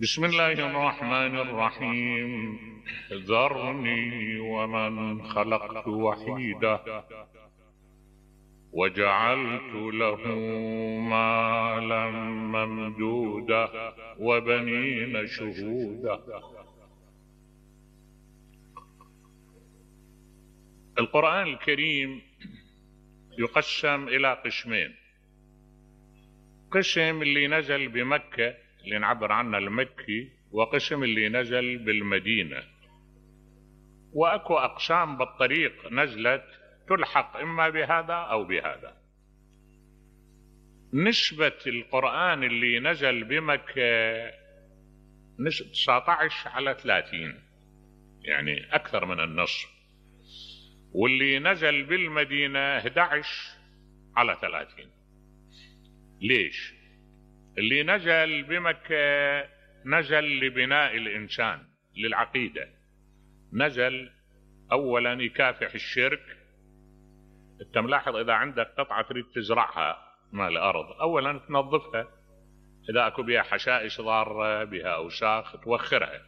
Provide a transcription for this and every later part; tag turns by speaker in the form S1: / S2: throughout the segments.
S1: بسم الله الرحمن الرحيم. ذرني ومن خلقت وحيدا وجعلت له مالا ممدودا وبنين شهودا. القرآن الكريم يقسم إلى قسمين: قسم اللي نزل بمكة اللي نعبر عنه المكي، وقسم اللي نزل بالمدينة. وأكو أقسام بالطريق نزلت تلحق إما بهذا أو بهذا. نسبة القرآن اللي نزل بمكة 19/30، يعني أكثر من النصف، واللي نزل بالمدينة 11/30. ليش؟ اللي نزل بمكة نزل لبناء الإنسان، للعقيدة. نزل أولا يكافح الشرك. انت ملاحظ إذا عندك قطعة تريد تزرعها مال الأرض، أولا تنظفها، إذا أكو بها حشائش ضارة بها أوساخ توخرها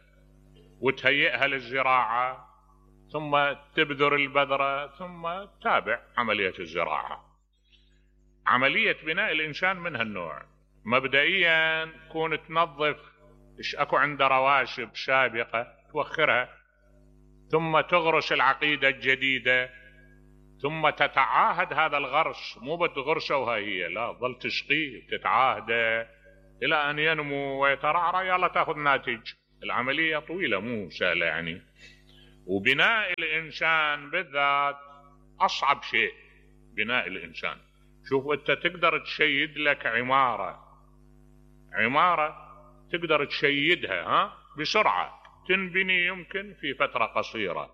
S1: وتهيئها للزراعة، ثم تبذر البذرة، ثم تتابع عملية الزراعة. عملية بناء الإنسان من هالنوع. مبدئيا كون تنظف ايش اكو عنده رواسب سابقة توخرها، ثم تغرس العقيدة الجديدة، ثم تتعاهد هذا الغرس. مو بتغرسه وهي هي، لا، ظل تسقيه تتعاهده الى ان ينمو ويترعرع، يلا تاخذ ناتج. العملية طويلة مو سهلة يعني. وبناء الإنسان بالذات أصعب شيء. بناء الإنسان، شوف أنت تقدر تشيد لك عمارة تقدر تشيدها بسرعة، تنبني يمكن في فترة قصيرة،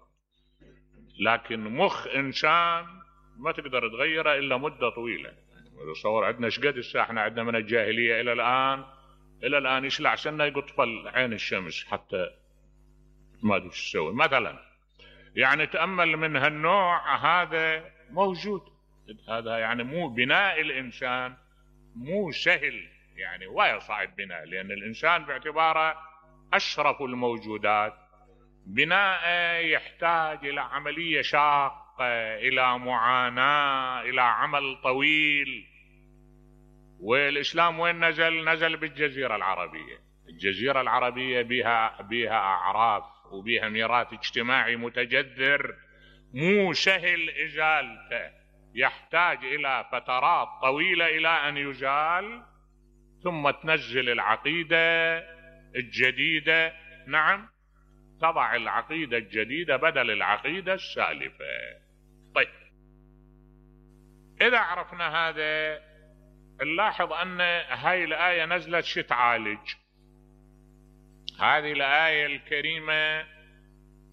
S1: لكن مخ إنسان ما تقدر تغيره إلا مدة طويلة. تصور عندنا شقد الساعة، احنا عندنا من الجاهلية إلى الآن يشلع سنة يطفل عين الشمس حتى ما أدري شو تسوي مثلا. يعني تأمل من هالنوع هذا موجود. هذا يعني مو بناء الإنسان مو سهل، يعني ولا صعب بناء، لأن الإنسان باعتباره أشرف الموجودات. بناء يحتاج إلى عملية شاقة، إلى معاناة، إلى عمل طويل. والإسلام وين نزل؟ نزل بالجزيرة العربية. الجزيرة العربية بها أعراف وبها ميراث اجتماعي متجذر، مو سهل إزالته، يحتاج إلى فترات طويلة إلى أن يزال، ثم تنزل العقيدة الجديدة. نعم، تضع العقيدة الجديدة بدل العقيدة السالفة. طيب، إذا عرفنا هذا نلاحظ أن هاي الآية نزلت شو تعالج. هذه الآية الكريمة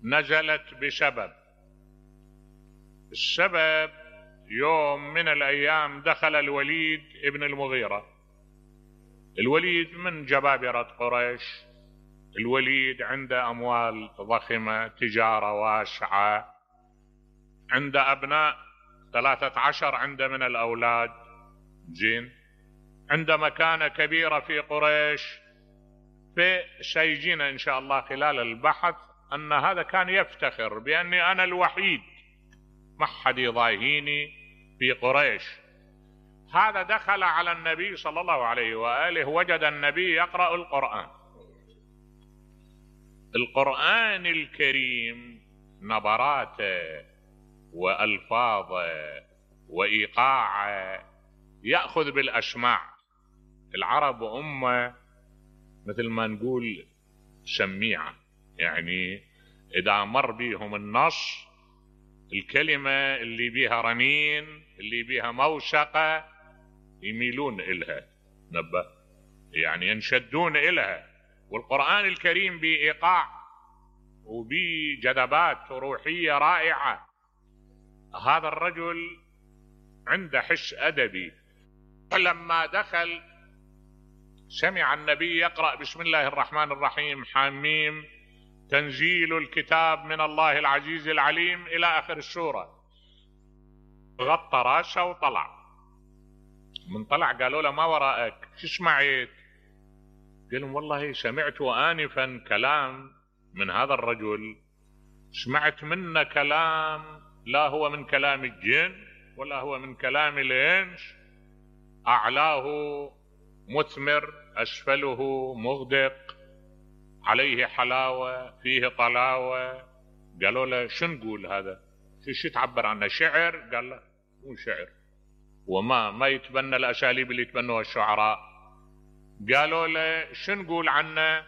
S1: نزلت بسبب. السبب يوم من الأيام دخل الوليد ابن المغيرة. الوليد من جبابرة قريش. الوليد عنده أموال ضخمة، تجارة واسعة، عنده أبناء 13 عنده من الأولاد، زين، عنده مكانة كبيرة في قريش. فسيجينا إن شاء الله خلال البحث أن هذا كان يفتخر بأني أنا الوحيد، ما حد يضاهيني في قريش. هذا دخل على النبي صلى الله عليه وآله، وجد النبي يقرأ القرآن الكريم، نبراته وألفاظه وإيقاعه يأخذ بالأسماع. العرب أمة مثل ما نقول سميعة، يعني إذا مر بيهم النص، الكلمة اللي بيها رنين، اللي بيها موسقة، يميلون إلها، نبه، يعني ينشدون إلها. والقرآن الكريم بإيقاع وبجذبات روحية رائعة. هذا الرجل عنده حس أدبي. لما دخل سمع النبي يقرأ بسم الله الرحمن الرحيم حميم تنزيل الكتاب من الله العزيز العليم إلى آخر السورة، غطى راسه وطلع. من طلع قالوا له ما وراءك، شو سمعت؟ قال لهم والله سمعت آنفا كلام من هذا الرجل، سمعت منه كلام لا هو من كلام الجن ولا هو من كلام الإنس، أعلاه مثمر أسفله مغدق، عليه حلاوة فيه طلاوة. قالوا له شو نقول هذا؟ شو تعبر عنه؟ شعر؟ قال له مو شعر، وما يتبنى الأساليب اللي يتبنوها الشعراء. قالوا له شو نقول عنه؟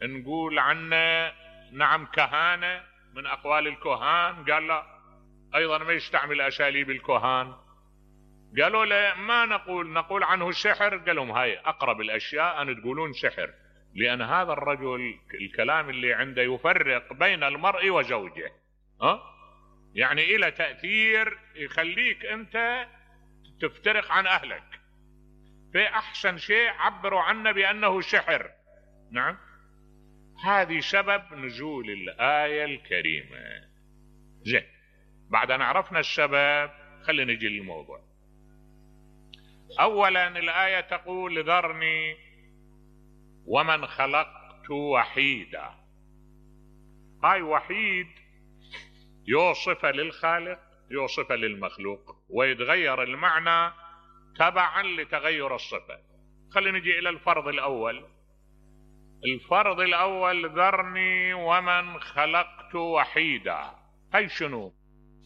S1: نقول عنه نعم كهانة، من أقوال الكهان. قال لا، أيضا ما يستعمل أساليب الكهان. قالوا له ما نقول عنه سحر. قال لهم هاي أقرب الأشياء أن تقولون سحر، لأن هذا الرجل الكلام اللي عنده يفرق بين المرء وزوجه، يعني إلى تأثير يخليك أنت تفترق عن أهلك. فأحسن شيء عبروا عنه بأنه سحر. نعم، هذه سبب نزول الآية الكريمة. زين، بعد أن عرفنا السبب خلينا نجي للموضوع. أولا الآية تقول ذرني ومن خلقت وحيدا. هاي وحيد يوصف للخالق يوصف للمخلوق، ويتغير المعنى تبعا لتغير الصفة. خلينا نجي إلى الفرض الأول. الفرض الأول ذرني ومن خلقت وحيدا. هاي شنو؟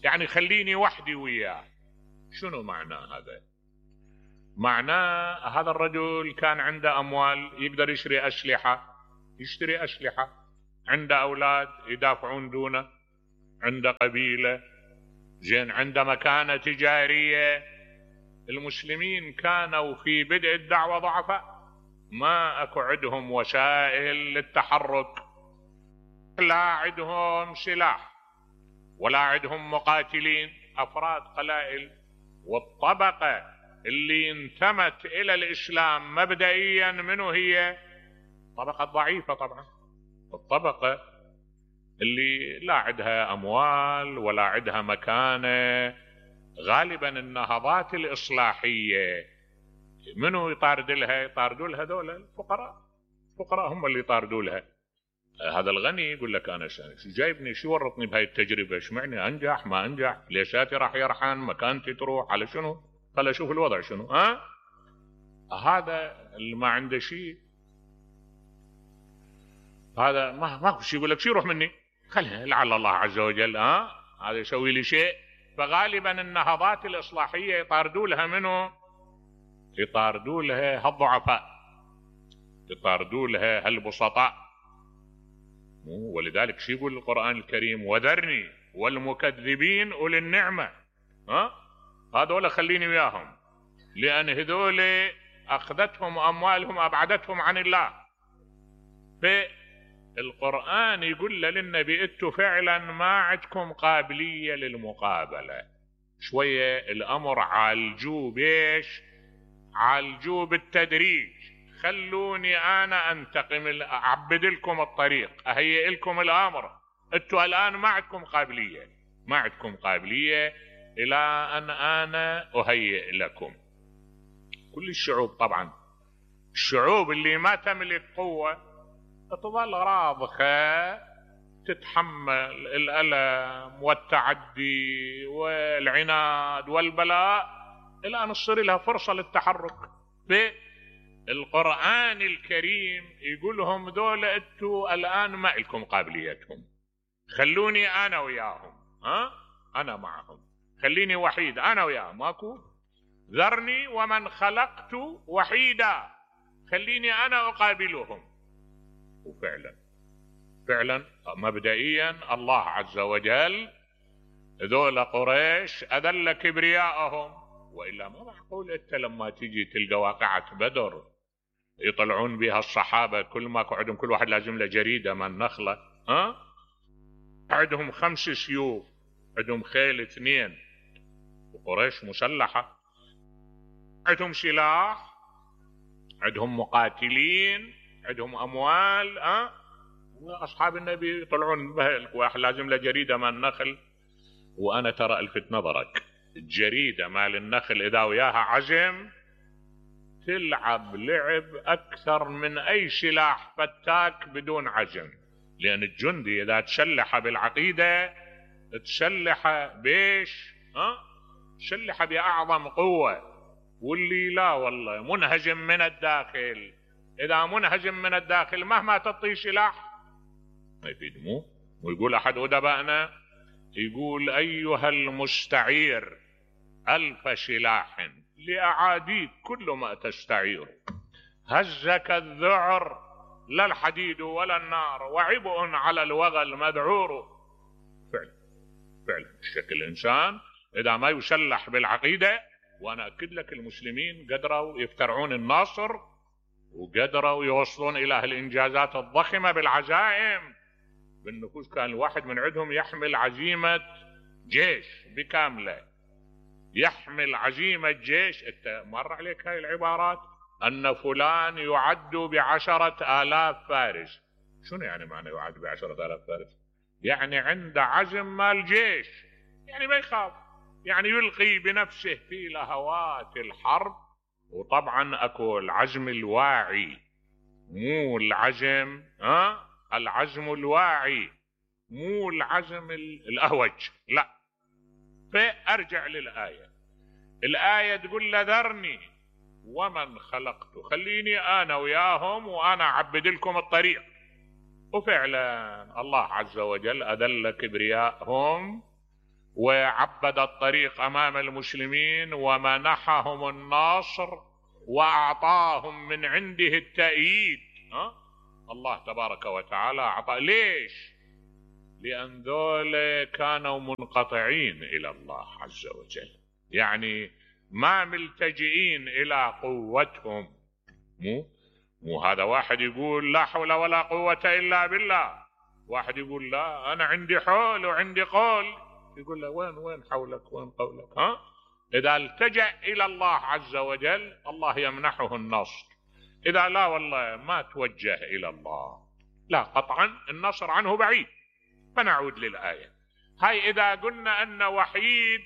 S1: يعني خليني وحدي وياه. شنو معنى هذا؟ معناه هذا الرجل كان عنده أموال، يقدر يشتري أسلحة، عنده أولاد يدافعون دونه، عنده قبيلة، زين، عنده مكانة تجارية. المسلمين كانوا في بدء الدعوة ضعفاء، ما اكو عندهم وسائل للتحرك، لا عندهم سلاح ولا عندهم مقاتلين، أفراد قلائل. والطبقة اللي انتمت إلى الإسلام مبدئيا منه هي طبقة ضعيفة طبعا، الطبقة اللي لا عندها أموال ولا عندها مكانة. غالبا النهضات الإصلاحية منو يطاردوا لها دول الفقراء هم اللي يطاردوا لها. هذا الغني يقول لك أنا شو جايبني، شو ورطني بهاي التجربة، شو معني أنجح ما أنجح، ليشاتي راح يرحن، مكانتي تروح، على شنو؟ خل أشوف الوضع شنو. هذا اللي ما عنده شيء، هذا ما شيء، يقول لك شو يروح مني، خلها لعل الله عز وجل هذا يسوي لي شيء. فغالبا النهضات الإصلاحية يطاردوا لها منه، يطاردوا لها هالضعفاء، يطاردوا لها هالبسطاء. ولذلك شو يقول القرآن الكريم؟ وذرني والمكذبين أولي النعمة. هذول خليني وياهم، لأن هذول أخذتهم أموالهم أبعدتهم عن الله. فالقرآن يقول للنبي انتوا فعلا ما عندكم قابلية للمقابلة، شوية الأمر عالجوه بيش؟ عالجوه بالتدريج. خلوني أنا أنتقم، أعبد لكم الطريق، أهيئ لكم الأمر. انتوا الآن ما عندكم قابلية إلى أن أنا أهيئ لكم. كل الشعوب طبعا، الشعوب اللي ما تملك قوة تظل راضخة، تتحمل الألم والتعدي والعناد والبلاء إلى أن تصير لها فرصة للتحرك. القرآن الكريم يقول لهم دول انتوا الآن ما لكم قابليتهم، خلوني أنا وياهم، أنا معهم، خليني وحيد أنا وياهم، ماكو ذرني ومن خلقت وحيدا، خليني أنا أقابلهم. وفعلا مبدئيا الله عز وجل ذول قريش أذل كبرياءهم، وإلا ما معقول أنت لما تيجي تلقى واقعة بدر يطلعون بها الصحابة كل ما قعدهم كل واحد لازم له جريدة من نخلة، عندهم 5 سيوف، عندهم خيل 2، وقريش مسلحة، عندهم سلاح، عندهم مقاتلين، عندهم أموال. أصحاب النبي يطلعون بها واحد لازم له جريدة من نخل. وأنا ترى ألفت نظرك، الجريدة مال النخل إذا وياها عزم تلعب لعب أكثر من أي سلاح فتاك بدون عزم. لأن الجندي إذا تسلح بالعقيدة تسلح بيش، تسلح بأعظم قوة. واللي لا والله منهزم من الداخل، إذا منهزم من الداخل مهما تعطيه سلاح ما يفيد. مو ويقول أحد أدبائنا، يقول أيها المستعير ألف سلاح لأعاديك كل ما تستعير، هزك الذعر لا الحديد ولا النار، وعبء على الوغى المذعور. فعلا الشكل الإنسان إذا ما يسلح بالعقيدة. وأنا أكد لك المسلمين قدروا يفترعون الناصر، وقدروا يوصلون إلى الإنجازات الضخمة بالعزائم بالنفوس. كان الواحد من عندهم يحمل عزيمة جيش بكاملة، يحمل عزيمة جيش. انت مر عليك هاي العبارات، أن فلان يعد ب10,000 فارس. شنو يعني معنى يعد ب10,000 فارس؟ يعني عنده عزم مال جيش، يعني ما يخاف، يعني يلقي بنفسه في لهوات الحرب. وطبعا اكو العزم الواعي، مو العزم العزم الواعي، مو العزم الأهوج، لا. فأرجع للآية. الآية تقول له ذرني ومن خلقت، خليني أنا وياهم وأنا أعبد لكم الطريق. وفعلا الله عز وجل أذل كبرياءهم وعبد الطريق أمام المسلمين ومنحهم الناصر وأعطاهم من عنده التأييد. الله تبارك وتعالى أعطى. ليش؟ لأن ذولا كانوا منقطعين إلى الله عز وجل، يعني ما ملتجئين إلى قوتهم. مو هذا واحد يقول لا حول ولا قوة إلا بالله، واحد يقول لا أنا عندي حول وعندي قول، يقول له وين حولك وين قولك؟ إذا التجأ إلى الله عز وجل الله يمنحه النصر. إذا لا والله ما توجه إلى الله، لا قطعا النصر عنه بعيد. فنعود للآية هاي. إذا قلنا أن وحيد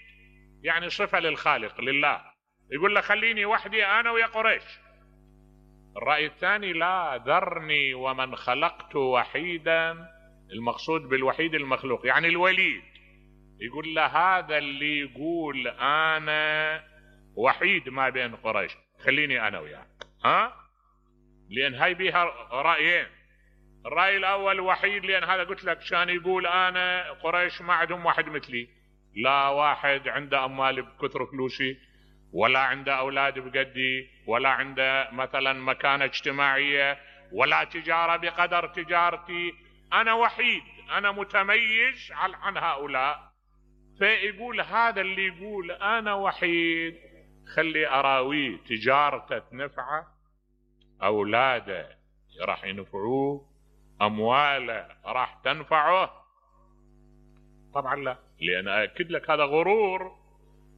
S1: يعني صفة للخالق لله، يقول له خليني وحدي أنا ويا قريش. الرأي الثاني لا، ذرني ومن خلقت وحيدا، المقصود بالوحيد المخلوق يعني الوليد. يقول له هذا اللي يقول أنا وحيد ما بين قريش، خليني أنا وياك. لأن هاي بيها رأيين. الرأي الأول وحيد لأن هذا قلت لك شان يقول أنا قريش ما عندهم واحد مثلي، لا واحد عنده أموال بكثر فلوسي، ولا عنده أولاد بقدي، ولا عنده مثلا مكانة اجتماعية، ولا تجارة بقدر تجارتي. أنا وحيد، أنا متميز عن هؤلاء. فيقول هذا اللي يقول أنا وحيد خلي أراويه تجارته تنفعه، أولاده راح ينفعوه، أمواله راح تنفعه. طبعا لا، لأن أكد لك هذا غرور،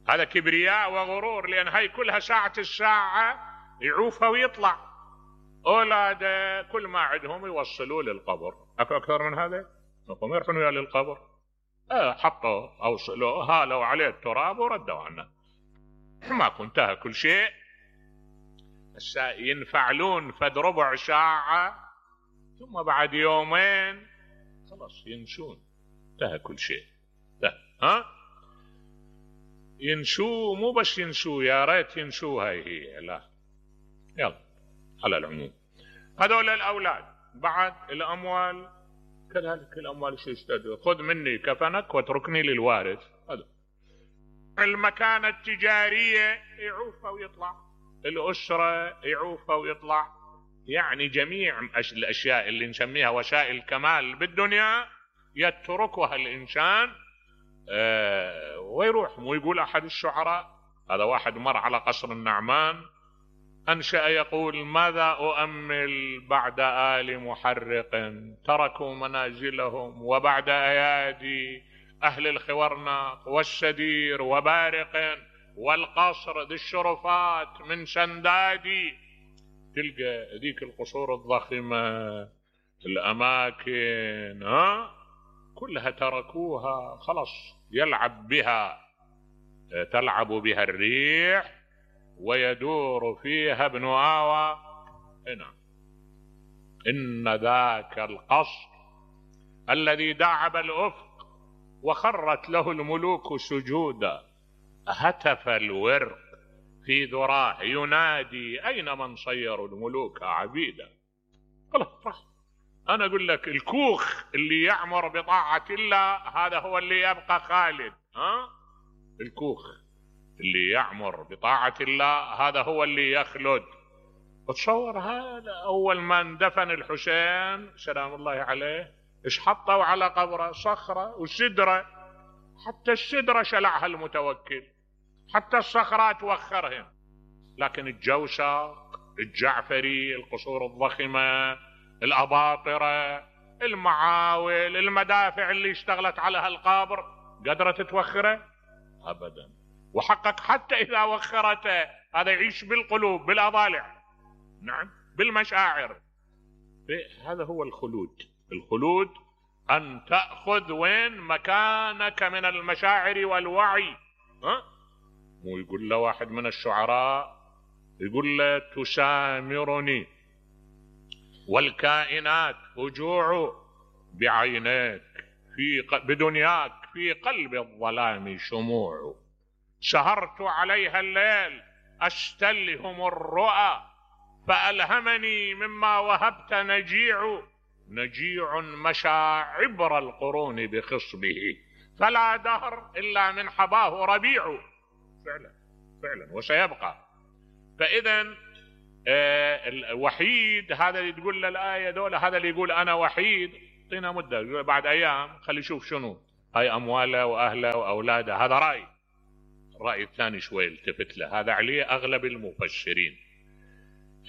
S1: هذا كبرياء وغرور. لأن هاي كلها ساعة الساعة يعوفها ويطلع. أولاده كل ما عندهم يوصلوا للقبر. أكثر من هذا هم يروحون ويا للقبر، حطوا أوصلوا هالوا عليه التراب وردوا عنه، ما كنتها كل شيء. ينفعلون فد ربع ساعة ثم بعد يومين خلاص ينسون، انتهى كل شيء. ينسوا، مو بس ينسوا، يا ريت ينسوا هاي هي، لا. يلا على العموم هذول الأولاد. بعد الأموال كذلك، الأموال شو يستدعوا؟ خذ مني كفنك واتركني للوارث. هذا المكانة التجارية يعوفها ويطلع، الأسرة يعوفها ويطلع، يعني جميع الأشياء اللي نسميها وسائل الكمال بالدنيا يتركها الإنسان ويروح. ويقول أحد الشعراء، هذا واحد مر على قصر النعمان، أنشأ يقول ماذا أؤمل بعد آل محرق تركوا منازلهم، وبعد أيادي أهل الخورناق والسدير وبارق، والقصر ذي الشرفات من سندادي. تلقى ذيك القصور الضخمة، الأماكن كلها تركوها خلاص، يلعب بها، تلعب بها الريح ويدور فيها ابن آوى. نعم. إن ذاك القصر الذي داعب الأفق وخرت له الملوك سجودا، هتف الورق في ذراه ينادي أين من صيروا الملوك عبيدا. خلاص، أنا أقول لك الكوخ اللي يعمر بطاعة الله هذا هو اللي يبقى خالد. الكوخ اللي يعمر بطاعة الله هذا هو اللي يخلد. تصور هذا أول ما اندفن الحسين سلام الله عليه إيش حطوا على قبره؟ صخرة وسدرة، حتى السدرة شلعها المتوكل، حتى الصخرات وخرهم. لكن الجوسق، الجعفري، القصور الضخمة، الأباطرة، المعاول، المدافع اللي اشتغلت على هالقابر قدرت توخره؟ أبدا. وحقق حتى إذا وخرته هذا يعيش بالقلوب، بالأضالع، نعم، بالمشاعر. هذا هو الخلود. الخلود أن تأخذ وين مكانك من المشاعر والوعي. مو يقول له واحد من الشعراء، يقول له تسامرني والكائنات هجوع بعينيك بدنياك في قلب الظلام شموع، سهرت عليها الليل أستلهم الرؤى فألهمني مما وهبت نجيع مشى عبر القرون بخصبه فلا دهر إلا من حباه ربيع. فعلا وسيبقى. فإذا الوحيد هذا اللي تقول له الآية دولة، هذا اللي يقول أنا وحيد، اعطينا مدة بعد أيام خلي يشوف شنو هاي أمواله وأهله وأولاده. هذا الرأي الثاني شوي التفت له، هذا عليه أغلب المفسرين.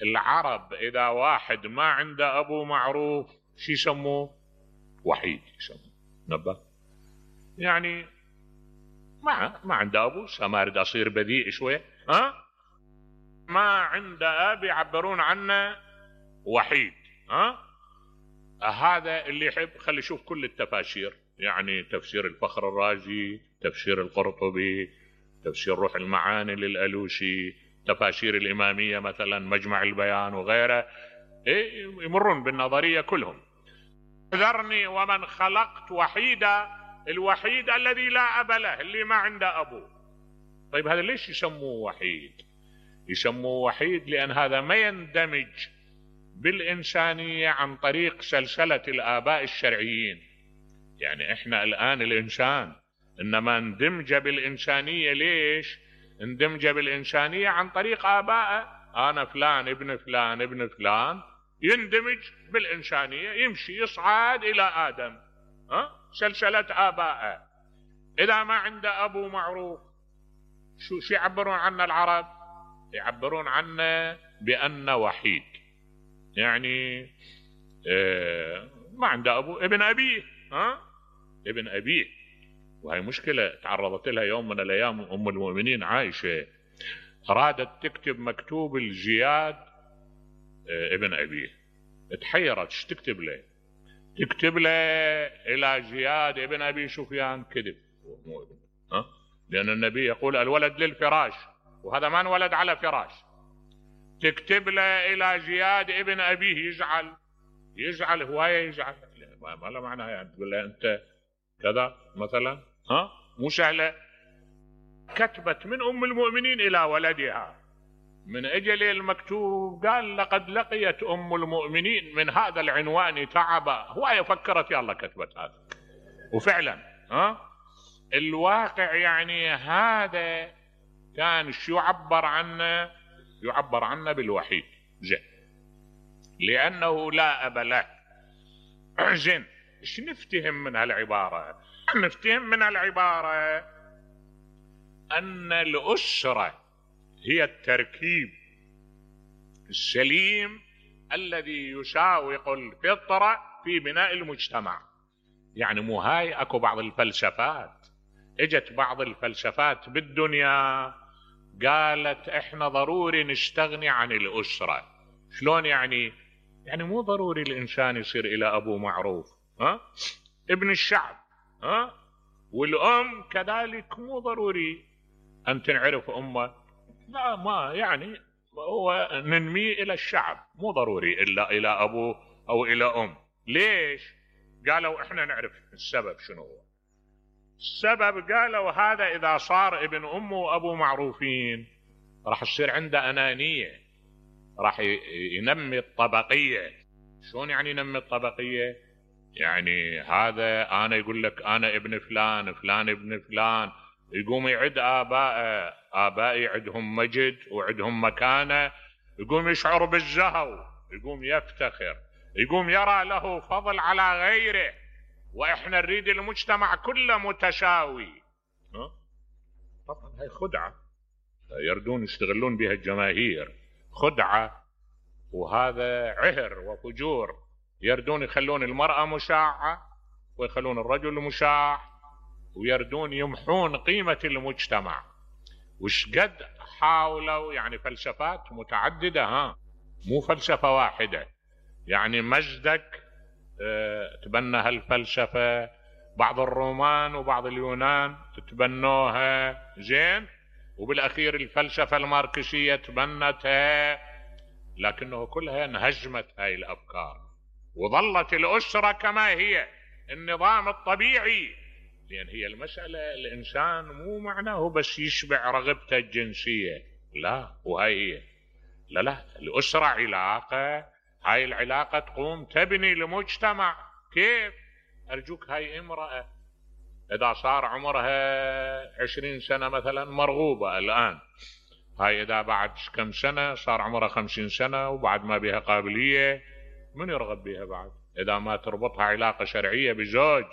S1: العرب إذا واحد ما عنده أبو معروف شو يسموه؟ وحيد يسموه. نبه يعني ما عنده أبو، ما أريد أصير بذيء شوي، ما عنده أب يعبرون عنه وحيد. هذا اللي يحب خلي يشوف كل التفاسير، يعني تفسير الفخر الرازي، تفسير القرطبي، تفسير روح المعاني للألوسي، تفاسير الإمامية مثلا مجمع البيان وغيره، يمرون بالنظرية كلهم. ذرني ومن خلقت وحيدا، الوحيد الذي لا أب له، اللي ما عنده أبو. طيب هذا ليش يسموه وحيد؟ يسموه وحيد لأن هذا ما يندمج بالإنسانية عن طريق سلسلة الآباء الشرعيين. يعني إحنا الآن الإنسان إنما اندمج بالإنسانية. ليش اندمج بالإنسانية؟ عن طريق آبائه. أنا فلان ابن فلان ابن فلان يندمج بالإنسانية، يمشي يصعد إلى آدم، سلسلة آبائه. إذا ما عنده أبو معروف شو يعبرون عنه العرب؟ يعبرون عنه بأنه وحيد، يعني ما عنده أبو، ابن أبيه، ابن أبيه. وهي مشكلة تعرضت لها يوم من الأيام أم المؤمنين عائشة، أرادت تكتب مكتوب الزياد ابن أبيه، تحيرت ايش تكتب له؟ تكتب له إلى زياد ابن أبي سفيان، كذب، لأن النبي يقول الولد للفراش، وهذا ما انولد على فراش. تكتب له إلى زياد ابن أبيه، يزعل هواية، يزعل، ما له معنى يعني تقول له أنت كذا مثلا، مو سهلة. كتبت من أم المؤمنين إلى ولدها من أجل المكتوب، قال لقد لقيت أم المؤمنين من هذا العنوان تعبا. هواية فكرت يلا كتبت هذا، وفعلا الواقع يعني هذا كان شو يعبر عنه بالوحيد. زين، لأنه لا أب له. زين، ايش نفتهم من هالعبارة؟ نفتهم من العبارة أن الأسرة هي التركيب السليم الذي يساوق الفطرة في بناء المجتمع. يعني مو هاي اكو بعض الفلسفات، اجت بعض الفلسفات بالدنيا قالت احنا ضروري نستغني عن الأسرة. شلون يعني مو ضروري الإنسان يصير إلى أبو معروف، ابن الشعب، والأم كذلك مو ضروري أن تنعرف أمه. لا ما يعني هو ننميه الى الشعب، مو ضروري الا الى ابوه او الى ام. ليش؟ قالوا احنا نعرف السبب شنو هو. السبب قالوا هذا اذا صار ابن امه وابوه معروفين راح تصير عنده انانية، راح ينمي الطبقية. شلون يعني ينمي الطبقية؟ يعني هذا انا يقول لك انا ابن فلان، فلان ابن فلان، يقوم يعد ابائي عندهم مجد وعندهم مكانة، يقوم يشعر بالزهو، يقوم يفتخر، يقوم يرى له فضل على غيره، واحنا نريد المجتمع كله متساوي. طبعا هاي خدعة يردون يستغلون بها الجماهير، خدعة، وهذا عهر وفجور. يردون يخلون المرأة مشاعة ويخلون الرجل مشاع، ويردون يمحون قيمة المجتمع. وش قد حاولوا، يعني فلسفات متعددة، مو فلسفة واحدة. يعني مجدك تبنى هالفلسفة، بعض الرومان وبعض اليونان تبنوها زين، وبالأخير الفلسفة الماركسية تبنتها، لكنه كلها انهزمت هاي الأفكار، وظلت الأسرة كما هي النظام الطبيعي. لأن هي المسألة الإنسان مو معناه بس يشبع رغبته الجنسية، لا، وهي هي لا الأسرة علاقة، هاي العلاقة تقوم تبني المجتمع. كيف؟ أرجوك، هاي امرأة إذا صار عمرها 20 سنة مثلا مرغوبة الآن، هاي إذا بعد كم سنة صار عمرها 50 سنة وبعد ما بها قابلية، من يرغب بها بعد؟ إذا ما تربطها علاقة شرعية بزوج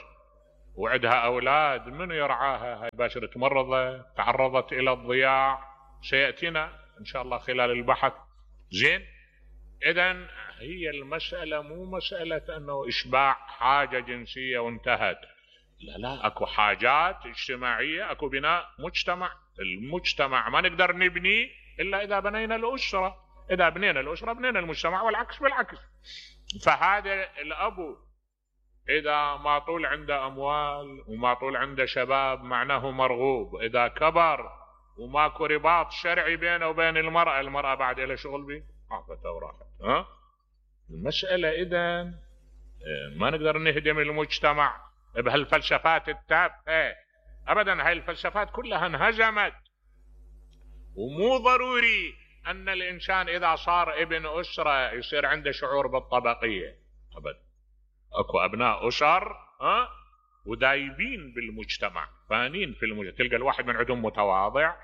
S1: وعندها أولاد، من يرعاها؟ هاي باشرة مرضى تعرضت إلى الضياع، سيأتينا إن شاء الله خلال البحث. زين، إذن هي المسألة مو مسألة أنه إشباع حاجة جنسية وانتهت، لا، أكو حاجات اجتماعية، أكو بناء مجتمع. المجتمع ما نقدر نبنيه إلا إذا بنينا الأسرة، إذا بنينا الأسرة بنينا المجتمع، والعكس بالعكس. فهذا الأبو إذا ما طول عنده أموال وما طول عنده شباب معناه مرغوب، إذا كبر وماكو رباط شرعي بينه وبين المرأة بعد إلى شغل به، عافت وراحت. المسألة إذن ما نقدر نهدم المجتمع بهالفلسفات التافهة أبدا. هاي الفلسفات كلها انهزمت. ومو ضروري أن الإنسان إذا صار ابن أسرة يصير عنده شعور بالطبقية أبدا. أكو أبناء أسر ودايبين بالمجتمع، فانين في المجتمع. تلقى الواحد من عندهم متواضع،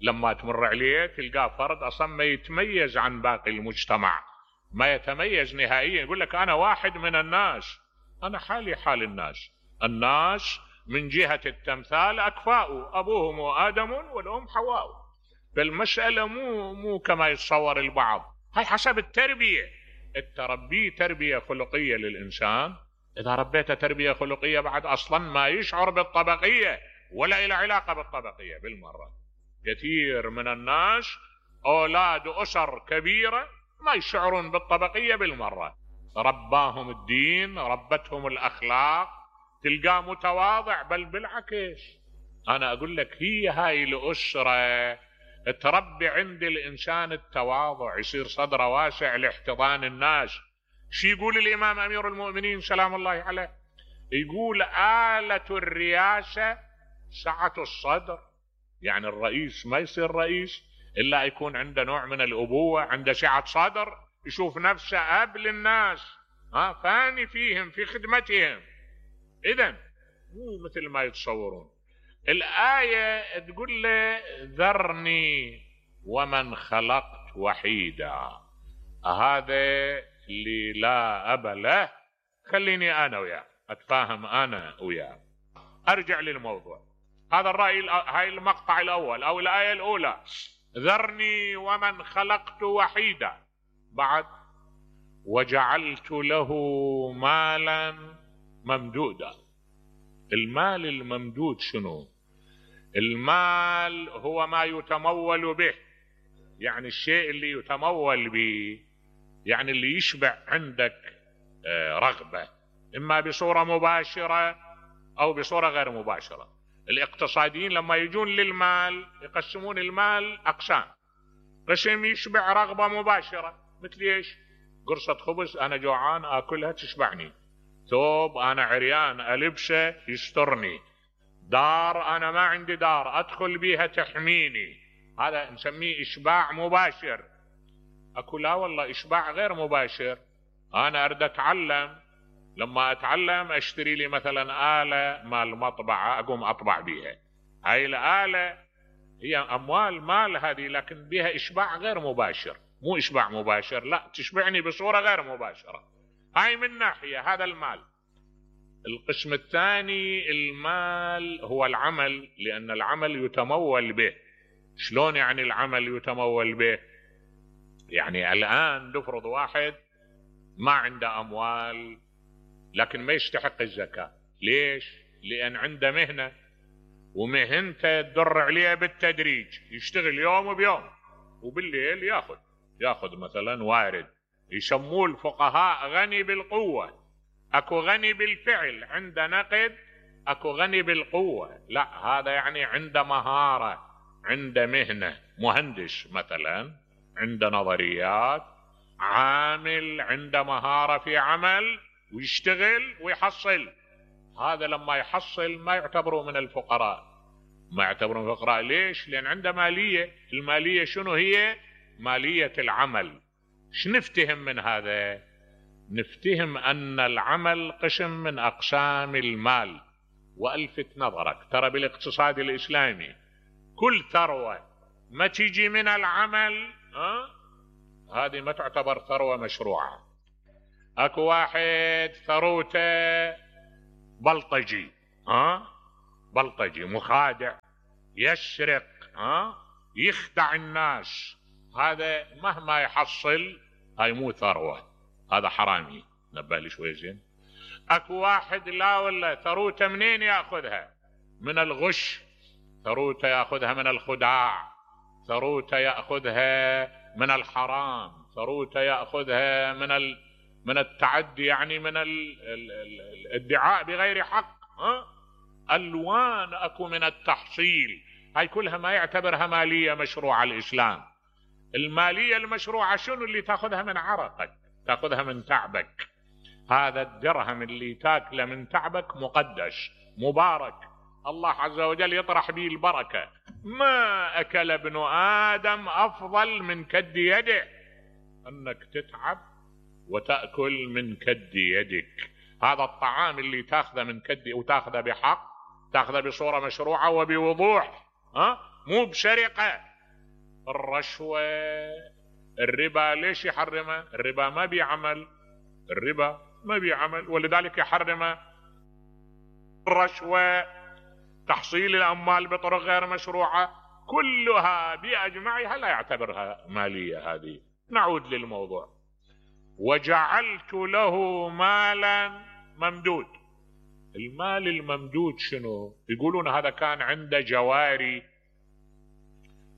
S1: لما تمر عليه تلقاه فرد أصلا ما يتميز عن باقي المجتمع، ما يتميز نهائيا. يقول لك أنا واحد من الناس، أنا حالي حال الناس من جهة التمثال أكفاء، أبوهم آدم والأم حواء. فالمسألة مو كما يتصور البعض. هاي حسب التربية. التربية تربية خلقية للإنسان، إذا ربيته تربية خلقية بعد أصلا ما يشعر بالطبقية ولا إلى علاقة بالطبقية بالمرة. كثير من الناس أولاد أسر كبيرة ما يشعرون بالطبقية بالمرة، رباهم الدين، ربتهم الأخلاق، تلقاه متواضع. بل بالعكس، أنا أقول لك هي هاي الأسرة تربي عند الإنسان التواضع، يصير صدره واسع لاحتضان الناس. شي يقول الإمام أمير المؤمنين سلام الله عليه؟ يقول آلة الرئاسة سعة الصدر. يعني الرئيس ما يصير رئيس إلا يكون عنده نوع من الأبوة، عنده سعة صدر، يشوف نفسه أب للناس، فاني فيهم في خدمتهم. إذن مو مثل ما يتصورون. الآية تقول له ذرني ومن خلقت وحيدا، هذا اللي لا أب له، خليني أنا وياه أتفاهم أنا وياه. أرجع للموضوع. هذا الرأي، هاي المقطع الأول أو الآية الأولى، ذرني ومن خلقت وحيدا. بعد وجعلت له مالا ممدودا. المال الممدود شنو؟ المال هو ما يتمول به، يعني الشيء اللي يتمول به، يعني اللي يشبع عندك رغبة، إما بصورة مباشرة أو بصورة غير مباشرة. الاقتصاديين لما يجون للمال يقسمون المال أقسام، قسم يشبع رغبة مباشرة، مثل ايش؟ قرصة خبز انا جوعان اكلها تشبعني، ثوب انا عريان البسه يسترني، دار انا ما عندي دار ادخل بيها تحميني، هذا نسميه اشباع مباشر. اكو لا والله اشباع غير مباشر، انا اريد اتعلم، لما اتعلم اشتري لي مثلا آلة مال مطبعة اقوم اطبع بيها، هاي الآلة هي اموال مال هذه، لكن بها اشباع غير مباشر، مو اشباع مباشر، لا تشبعني بصورة غير مباشرة. هاي من ناحية هذا المال. القسم الثاني المال هو العمل، لان العمل يتمول به. شلون يعني العمل يتمول به؟ يعني الان نفرض واحد ما عنده اموال لكن ما يستحق الزكاة، ليش؟ لان عنده مهنة، ومهنته تدر عليه بالتدريج، يشتغل يوم بيوم وبالليل ياخذ مثلا وارد، يسموه الفقهاء غني بالقوة. اكو غني بالفعل عنده نقد، اكو غني بالقوة، لا هذا يعني عنده مهارة، عنده مهنة، مهندس مثلا عنده نظريات، عامل عنده مهارة في عمل ويشتغل ويحصل. هذا لما يحصل ما يعتبروا من الفقراء، ما يعتبرون فقراء. ليش؟ لان عنده مالية. المالية شنو هي؟ مالية العمل. شنفتهم من هذا؟ نفتهم ان العمل قسم من اقسام المال. والفت نظرك ترى بالاقتصاد الاسلامي كل ثروة ما تيجي من العمل هذه ما تعتبر ثروة مشروعة. اكو واحد ثروته بلطجي، بلطجي مخادع، يسرق، يخدع الناس، هذا مهما يحصل هاي مو ثروة، هذا حرامي. نبه لي شوي زين. اكو واحد لا والله ثروته منين ياخذها؟ من الغش، ثروته ياخذها من الخداع، ثروته ياخذها من الحرام، ثروته ياخذها من التعدي، يعني من الادعاء بغير حق، الوان اكو من التحصيل. هاي كلها ما يعتبرها مالية مشروعة الاسلام. المالية المشروعة شنو؟ اللي تاخذها من عرقك، تاخذها من تعبك. هذا الدرهم اللي تاكله من تعبك مقدس مبارك، الله عز وجل يطرح به البركة. ما اكل ابن ادم افضل من كد يده، انك تتعب وتأكل من كد يدك. هذا الطعام اللي تاخذه من كد وتاخذه بحق، تاخذه بصورة مشروعة وبوضوح، مو بسرقة. الرشوة، الربا ليش يحرمه؟ الربا ما بيعمل، الربا ما بيعمل، ولذلك يحرمه. الرشوة، تحصيل الأموال بطرق غير مشروعة، كلها بأجمعها لا يعتبرها مالية. هذه نعود للموضوع. وجعلت له مالا ممدود. المال الممدود شنو؟ يقولون هذا كان عنده جواري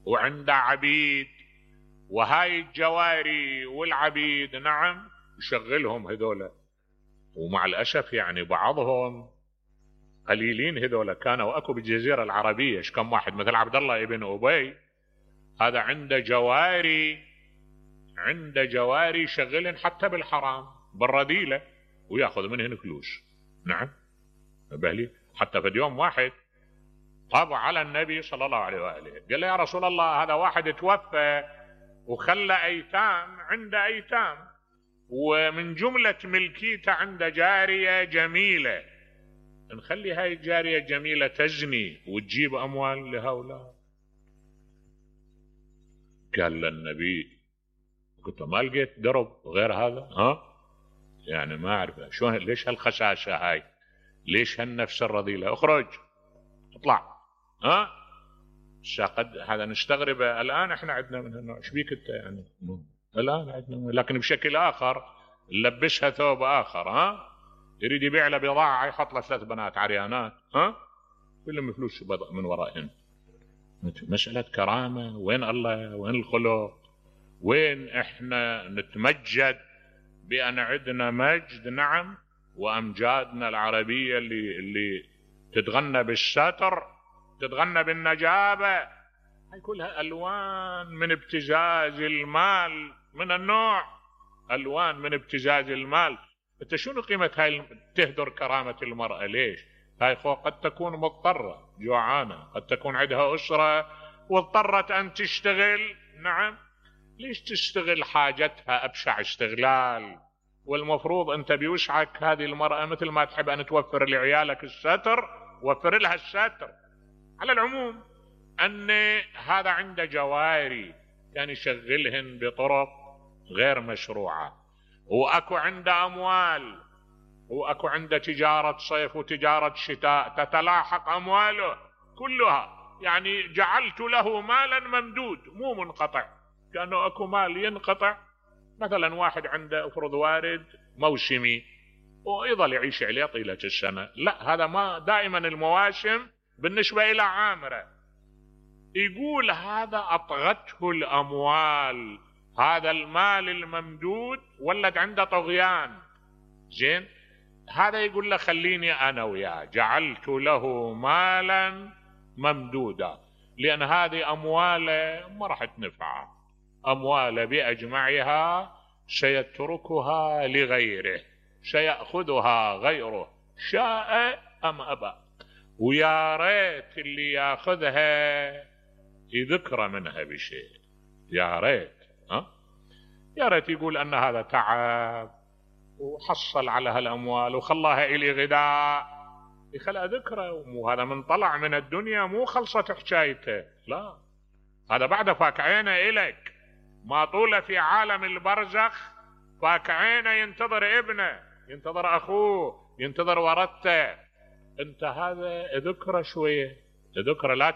S1: وعنده عبيد، وهاي الجواري والعبيد نعم يشغلهم هذولا، ومع الأسف يعني بعضهم قليلين هذولا كانوا اكو بالجزيرة العربية. كم واحد مثل عبد الله ابن أبي، هذا عنده جواري، عنده جواري يشغلن حتى بالحرام بالرذيلة وياخذ منهن فلوس. نعم بهلي. حتى في يوم واحد طاب على النبي صلى الله عليه وآله، قال له يا رسول الله هذا واحد توفى وخلى ايتام، عنده ايتام، ومن جملة ملكيته عنده جارية جميلة، نخلي هاي الجارية الجميلة تزني وتجيب اموال لهؤلاء؟ قال للنبي قلت ما لقيت درب غير هذا، يعني ما اعرف شلون، ليش هالخشاشة هاي، ليش هالنفس الرذيلة، اخرج اطلع. قد هذا نستغرب الان احنا عندنا من هالنوع. ايش بيك انت يعني؟ الان عندنا لكن بشكل اخر، نلبسها ثوب اخر، يريد يبيع له بضاعة يحط له 3 بنات عريانات، كلهم فلوس من ورائهم. مسألة كرامة. وين الله؟ وين الخلق؟ وين احنا نتمجد بأن عندنا مجد؟ نعم. وأمجادنا العربية اللي تتغنى بالستر، تتغنى بالنجابة، كلها ألوان من ابتزاز المال من النوع، ألوان من ابتزاز المال. انت شنو قيمة هاي تهدر كرامة المرأة؟ ليش؟ هاي قد تكون مضطرة جوعانة، قد تكون عندها أسرة واضطرت أن تشتغل. نعم، ليش تشتغل حاجتها أبشع استغلال؟ والمفروض أنت بوسعك هذه المرأة مثل ما تحب أن توفر لعيالك الستر، وفر لها الستر. على العموم أن هذا عنده جواري كان يشغلهن بطرق غير مشروعة، وأكو عنده أموال، وأكو عنده تجارة صيف وتجارة شتاء تتلاحق أمواله كلها. يعني جعلت له مالا ممدود مو منقطع، كأنه أكو مال ينقطع. مثلا واحد عنده افرض وارد موسمي ويظل يعيش عليه طيلة السنة، لا، هذا ما دائما المواسم بالنسبة إلى عامرة. يقول هذا أطغته الأموال، هذا المال الممدود ولد عنده طغيان. زين، هذا يقول له خليني أنا وياه، جعلت له مالا ممدودا، لأن هذه أمواله ما راح تنفعه، أمواله بأجمعها سيتركها لغيره، سيأخذها غيره شاء أم أبى. ويا ريت اللي ياخذها يذكر منها بشيء، يا ريت، يا ريت يقول أن هذا تعب وحصل على هالأموال وخلاها إلي غذاء، يخلى ذكره. وهذا من طلع من الدنيا مو خلصت حكايته، لا، هذا بعد فاك عينه إلك، ما طوله في عالم البرزخ فاك عينه ينتظر ابنه، ينتظر أخوه، ينتظر ورثته. انت هذا ذكره شوية، ذكره، لا